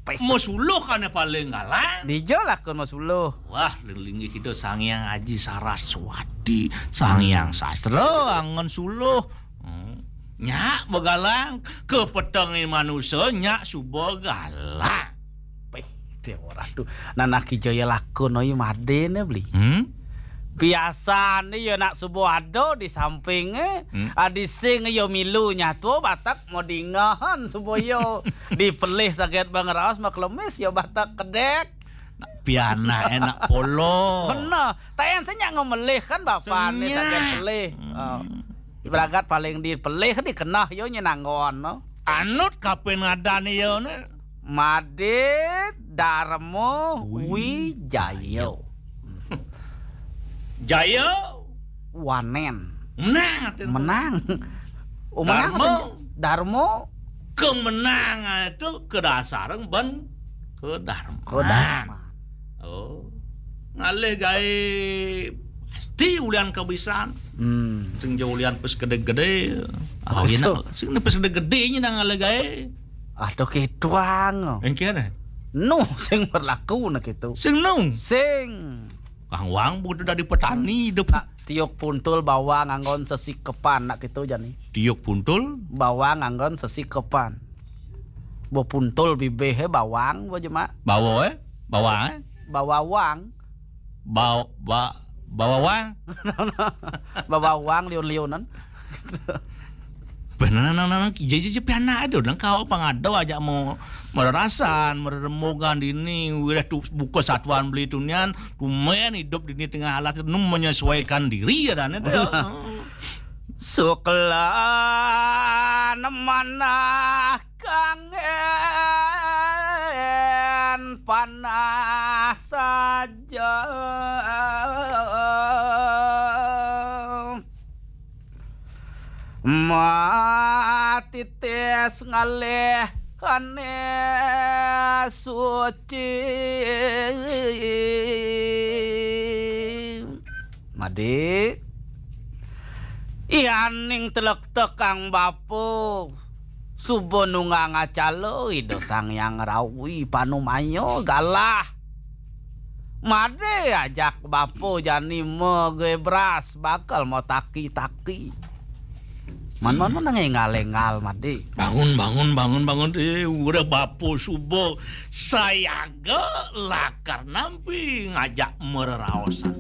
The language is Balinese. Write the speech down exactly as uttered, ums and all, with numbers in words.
Peh. Masuluh kan paling galang. Dija lakun masuluh. Wah, linggih Ida Sang Hyang Aji Saraswati, Sang Hyang Sastra anggon suluh. Hmm. Nya bagalang, kapetengé manusa nya suba galang. Peh, dia ora tu. Nanak Ki Jaya lakun oi madé né beli. Hmm? Biasané ya nak suba ada di sampingé, hmm, adi sing ya milu nyatua batak mau dingahan suba ya dipelih saget bang raos maklemis ya batak kedek. Pianak enak polo. Bener. Tayan sing nyak ngemelih kan bapané saget pelih. Hmm. Oh. Ibarat paling dipelih dikenah yo nyenanggon no. Anut kapin ngadan yo ne. Madé Darma Wi- Wijaya. Jaya Wanen. Menang. Menang. Oh, menang Darma. Darma. Kemenangan itu kedasarang ban kedarman. Kedarman. Oh. Ngalih gaé pasti ulian kabisan. Hmm. Sing ja ulian pes gedé-gedé. Oh, iya, nak. Sing pes gedé-gedé nya nang ngalih gaé. Aduh, ketuang. Engkian, eh? Nu sing berlaku nak itu. Sing nu. Sing. Kang Wang butuh dari petani hidup. Tiuk puntul bawang anggon sesikepan nak itu jani. Tiuk puntul? Bawang anggon sesikepan. Bo puntul bibih bawang bo jemak. Bawa, eh? Bawang, eh? Bawawang. Bawa, ba, bawawang. Bawawang liun-liunan. Bener nang nang jadi jadi pianak ada nang kau pangada aja mau mererasan, mereremogan dini, udah tu buka satuan beli tunian, tumen hidup dini tengah alas nu menyesuaikan diri ya dan itu. Suklan manah kangen panah saja. Matitis ngalih kane suci. Madi, yaning telek tekang bapa, suba nunggang acala Ida Sang Hyang Rawi panumaya galah. Made ajak bapa jani magebras bakal mataki-taki. Man, man, man, nang enggal-enggal, Made. Bangun, bangun, bangun, bangun. Eh, udah bapa suba sayaga lakar nampi ngajak mereraosan.